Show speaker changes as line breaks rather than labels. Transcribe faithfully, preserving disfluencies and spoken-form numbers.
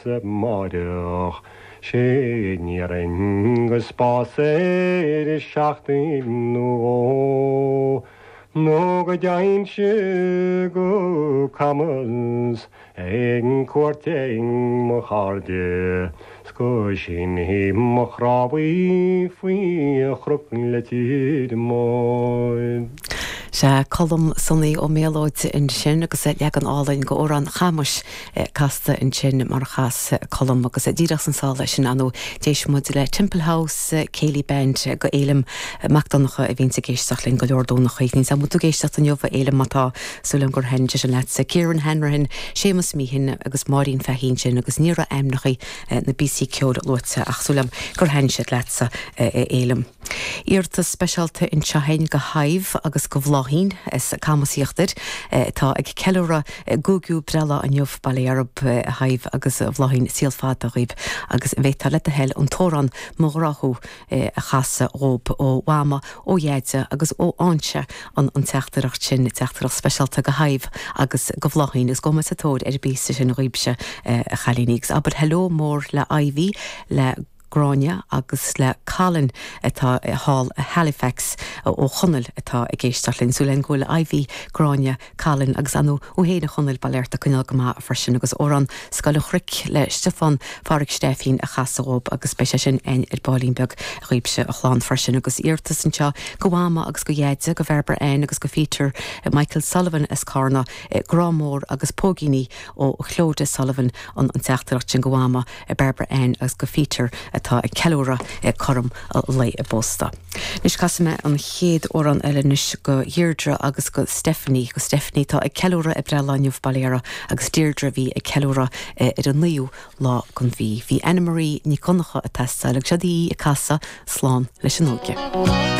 Amárach sé ní go spás ar seachtain nó nó go dtéinnse go Camas ag cuairt ar mo chairde go sínfidh mo chnámha faoi chnoc Leitir Móir.
Sé Colm Sonaí Ó Méalóid ansin agus leagan álainn go amhrán Chamais casta ansin mar chas Colm agus díreach san sála sin anú d'éist muid le Temple House Céilí Band go Éilim Mac Donnacha a bhíonn ag éisteacht linn go leor Domhnachaí ní am tú ag éisteacht inniu Éilim má tá súil agam gur thaitin sin leatsa Kieran Hanrahan Séamus Meehan agus Máirín Fahín sin agus ní raibh ainmneacha na bpíosaí ceoil luaite ach súil agam gur thaitin siad leatsa Éilim. Iarratas speisialta anseo go Shadhbh agus go Bhláithín as Camas Íochtair atá ag ceiliúradh a gcúigiú breithlá inniu bail ó Dhia oraibh a Shadhbh agus a Bhláithín saol fada dhaoibh agus an bhféadfá le do thoil an t-amhrán Mo Ghrá Thú a chasadh dhóibh ó Mhama ó Dheaide agus ó Áinse an an teachtaireacht sin teachtaireacht speisialta go Shadhbh agus go Bhláithín is gabhfaidh muid sa tóir ar an bpíosa sin dhaoibhse a chailíní agus abair hello mór le Ivy le Gráinne agus le Colin atá thall Halifax ó Chonaill atá ag éisteacht linn súil go bhfuil Ivy Gráinne Colin agus anu ó héana Chonaill bailerte coinneal go maith freisin agus amhrán Scoil an Chnoic le Stiofán Phádraig Stefín a chasadh dhóibh agus beidh sé sin againn ar baillín beag dhaoibhse a chlann freisin agus iarratas anseo go Mhama agus go Dheaide go Barbara Ann agus go Peter Michael Sullivan as Carna Grá Mór agus Póigíní ó Chlóde Sullivan an an teachtaireacht sin go Mhama Barbara Ann agus go Peter atá ag ceiliúradh cothrom lae a bpósta. Anois casfaidh mé an chéad amhrán eile anois go Deirdre agus go Stephanie go Stephanie tá ag ceiliúradh a breithlá inniu bail agus Deirdre bhí ag ceiliúradh ar an naoú lá den mhí. Bhí Anna Marie Ní Dhonncha ag teastáil agus seo í ag casadh slán leis an óige.